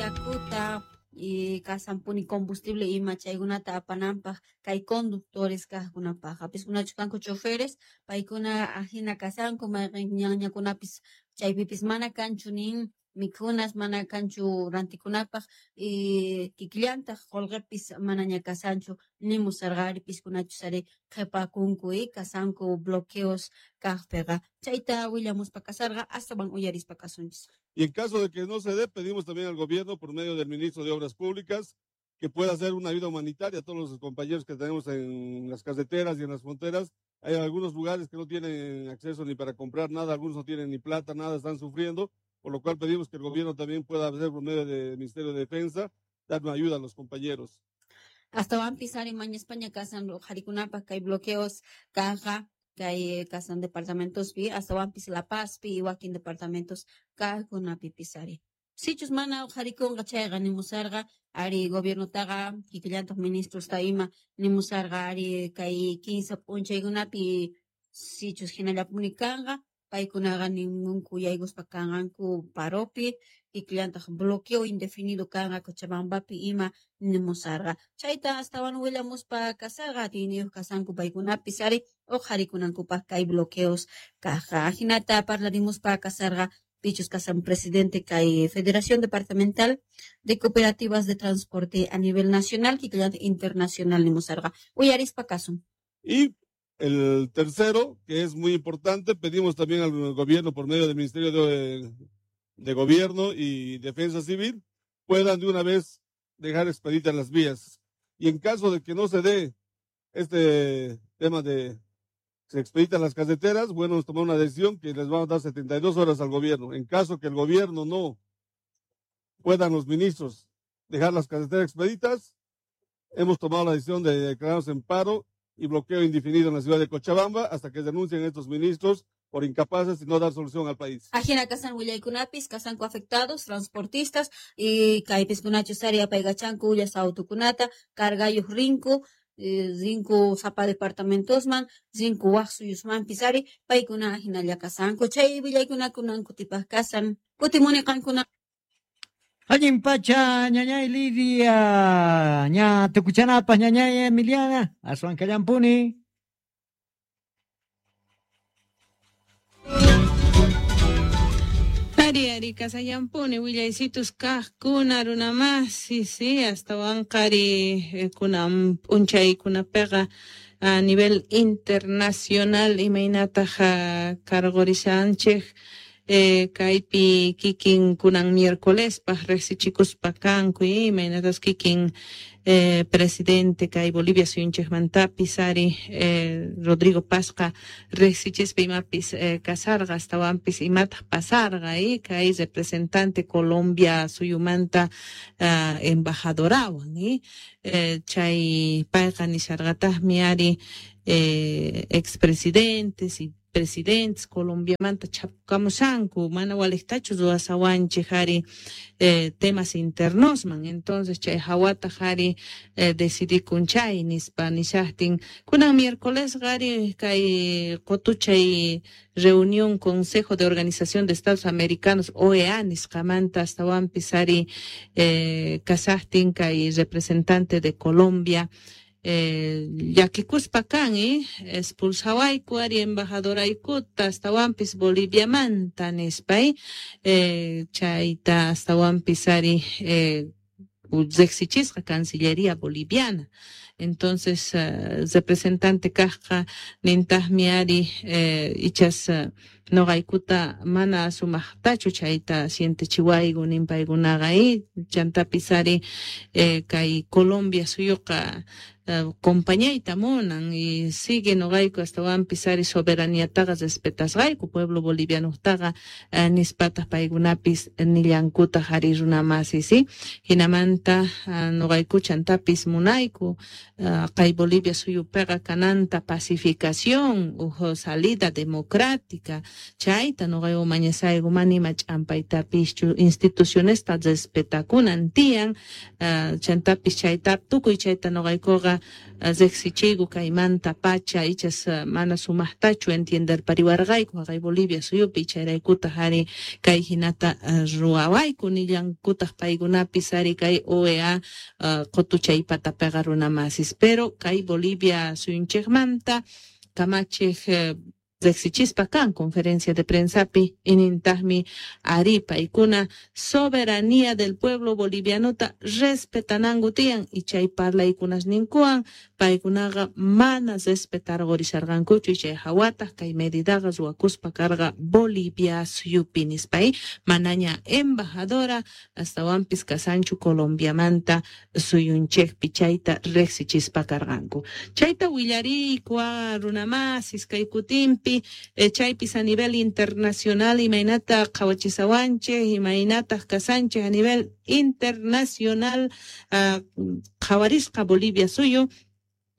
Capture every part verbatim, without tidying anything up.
yakuta y kasampuni combustible ima chaykunata apananpaq kay conductores kaqkunapaq piskunachu kanku choferes paykuna ajina kasanku mayqin ñanñakunapis chaypipis mana kanchu nin mikhunas mana kanchu rantikunapaq y kikillantaq qullqipis manaña kasanchu nimusarqa ari piskunachus ari qhipakunku y kasanku bloqueos kaqpiqa chayta willamuspa kasarqa astawan uyarispa kasunchis. Y en caso de que no se dé, pedimos también al gobierno, por medio del ministro de Obras Públicas, que pueda hacer una ayuda humanitaria a todos los compañeros que tenemos en las carreteras y en las fronteras. Hay algunos lugares que no tienen acceso ni para comprar nada, algunos no tienen ni plata, nada, están sufriendo, por lo cual pedimos que el gobierno también pueda hacer por medio del Ministerio de Defensa, dar una ayuda a los compañeros. Astawanpis ari mañaspaña kasan qharikunapaq kay bloqueos kaqqa kay kasan departamentospi astawanpis La Pazpi y wakin departamentos kaqkunapipis ari. Sichus mana uqharikunqa chayqa nimusarqa ari gobiernotaqa kikillantaq ministrosta ima nimusarqa ari kay kinsa p'unchaykunapi sichus hinallapuni kanqa paykunaqa ninmunku yaykuspa kanqanku paropi kikillantaq bloqueo indefinido kanqa Cochabambapi ima nimusarqa chayta astawan willamuspa kasarqa atiyniyuq kasanku paykunapis ari uqharikunankupaq kay bloqueos kaqqa ajinata parlarimuspa kasarqa pichus kasan presidente kay Federación Departamental de Cooperativas de Transporte a nivel nacional kikillantaq internacional nimusarqa uyarispa kasun. Y el tercero, que es muy importante, pedimos también al gobierno por medio del Ministerio de, de Gobierno y Defensa Civil, puedan de una vez dejar expeditas las vías. Y en caso de que no se dé este tema de se expeditan las carreteras, bueno, nos tomó una decisión que les vamos a dar setenta y dos horas al gobierno. En caso que el gobierno no puedan los ministros dejar las carreteras expeditas, hemos tomado la decisión de declararnos en paro y bloqueo indefinido en la ciudad de Cochabamba hasta que denuncien estos ministros por incapaces y no dar solución al país. Ajina kasan willaykunapis kasanku afectados, transportistas y kaypiskunachus ari apaykachanku ullas autukunata, cargayuq rinku, eh, rinku sapa departamentosman, rinku waq suyusmanpis ari paykuna ajinalla kasanku. Chay willaykunakunan kutipaq kasan. Kutimuni qankuna. Allin pacha, ñañay Lidia, ña tukuchanapas, ñañay Emiliana, aswan kallampuni. Ari, ari, kasallampuni, willaysitus kaqkuna runamasi, sí, hasta qari kunan p'unchaykunapiqa a nivel internacional imaynataq cargorishanchik. Eh, kaypi kikin kunan miércolespaq riqsichikuspa kanku imaynatas kikin eh, presidente kay Bolivia suyunchikmantapis ari eh, Rodrigo Pazqa riqsichispa imapis eh, kasarqa astawanpis imataq pasarqa eh, kay representante Colombia suyumanta uh, embajadorawan eh, eh, chay payqa nisharqataqmi ari eh, expresidentes y presidentes Colombiamanta chapkamusanku mana waliqtachu ruwasawanchik ari eh, temas internosman entonces chay hawataq ari eh, decidikun chay nispa nishaqtin kunan miércoles qari kay qutuchay reunión Consejo de Organización de Estados Americanos O E A nisqamanta astawanpis ari eh, kasaqtin kay representante de Colombia Eh, llakikuspa kan eh, expulsawayku ari embajadoraykuta astawanpis Boliviamanta nispa eh, chayta astawanpis ari eh, riqsichisqa Cancillería Boliviana. Entonces uh, representante kaqqa nintaqmi ari eh, ichas uh, noqaykuta mana sumaqtachu chayta sientechiwayku ninpaykunaqa eh, chantapis ari eh, kay Colombia suyuqa uh, compañayta munan y sigue noqayku astawanpis ari soberaniataqa respetasqayku pueblo bolivianotaqa uh, nispataq paykunapis nillankutaq ari runamasi, sí, hinamanta uh, noqayku chantapis munayku kay Bolivia suyupiqa kananta pacificación uj salida democrática chayta nuqayku mañasayku mana ima ch'ampaytapischu institucionesta respetakunan tiyan chantapis chayta tukuy chayta nuqaykuqa riqsichiyku kaymanta pacha ichas mana sumaqtachu entienderpariwarqayku haqay Bolivia suyupi chayraykutaq ari kay hinata ruwawayku nillankutaq paykunapis ari kay O E A qutuchaypatapiqa runamasis pero kay Bolivia suyunchikmanta kamachiq riqsichispa kan conferencia de prensapi inintaqmi ari paykuna soberanía del pueblo bolivianota respetananku tiyan y chay parlaykunasninkuwan paykunaqa mana respetarqurisharqankuchu y chay hawataq kay medidaqa ruwakuspa karqa Bolivia suyupi nispay manaña embajadora astawanpis kasanchu Colombiamanta suyunchikpi chayta riqsichispa karqanku chayta willariyku runamasis kay kutinpi chaypis a nivel internacional imaynata qhawachisawanchik imaynataq kasanchik a nivel internacional qhawarisqa Bolivia suyu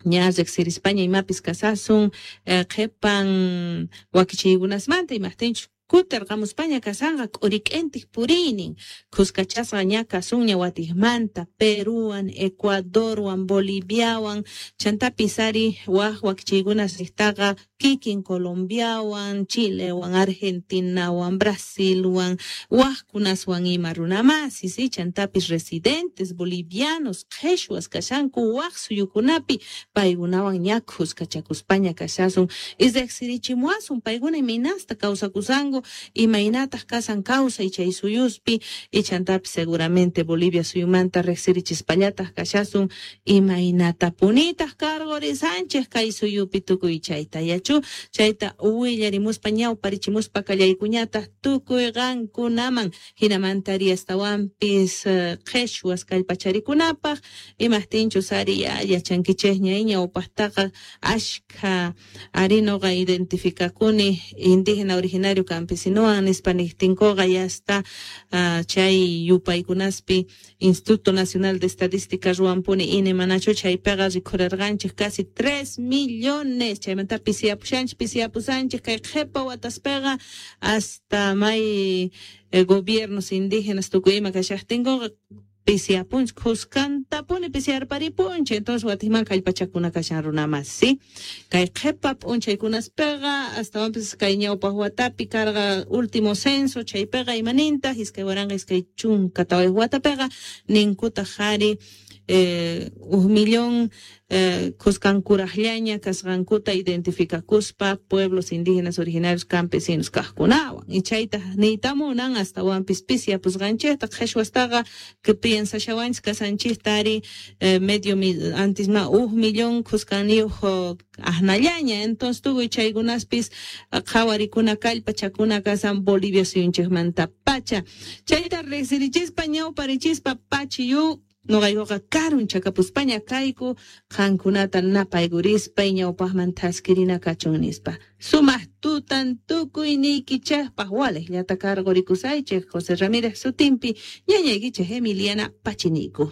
ña riqsirispaña imapis kasasun qhipan wakichiykunasmanta imaqtinchus kutirqamuspaña kasanqa k'urik'intiq puriynin khuskachasqa ña kasunña watiqmanta Peruwan Ecuadorwan Boliviawan chantapis ari waq wakichiykunas riqtaqa kikin Colombiawan Chilewan Argentinawan Brasilwan waqkunaswan ima runamasis chantapis residentes bolivianos qhichwas kashanku waq suyukunapi paykunawan ña khuskachakuspaña kashasun y riqsirichimuwasun paykuna imaynasta kawsakusanku imaynataq kasan kawsay chay suyuspi y chantapis seguramente Bolivia suyumanta riqsirichispallataq kashasun imaynatapunitaq karqurisanchik kay suyupi tukuy chayta yachu chayta willarimuspa ñawparichimuspa kallaykuñataq tukuy qankunaman hinamanta ari astawanpis qhichwas kallpacharikunapaq imaqtinchus ari yachankichikña ñawpaqtaqa ashkha ari nuqa identificakuni indígena originario campesinowan nispa niqtinkuqa ya está chay yupaykunaspi Instituto Nacional de Estadística ruwanpuni I N E manachu chaypiqa rikhurarqanchik casi tres millones chaymanta pisiyapushanchik pisiyapusanchik kay qhipa wataspiqa hasta may gobiernos indígenas tukuy ima kashaqtinkuqa pisiyapunchik khuskantapuni pisiyarparipunchik entonces watiqman kallpachakuna kashan runamas sí kay qhipa p'unchaykunaspiqa astawanpis kay ñawpaq watapi karqa último censo chaypiqa imanintaq iskay waranqa iskay chunka tawayuq watapiqa ninkutaq ari eh, uj millón eh, khuskankuraqllaña kasqankuta identificakuspa pueblos indígenas originarios campesinos kaqkunawan y chayta niytamunan astawanpis pisiyapusqanchikta qhichwastaqa que piensashawanchik kasanchikta ari eh, medio mil, antes ma uj millón khuskaniyuq aqnallaña entonces tukuy chaykunaspis qhawarikuna kallpachakuna kasan Bolivia suyunchikmanta pacha chayta riqsirichispa ñawparichispa pachiyu nuqaykuqa karunchakapuspaña kayku qankunata napaykurispa ñawpaqman thaskirina kachun nispa sumaq tutan tukuyniykichikpaq waliqllata karqurikusaychik José Ramírez sutinpi ñañaykichik Emiliana Pachiniku.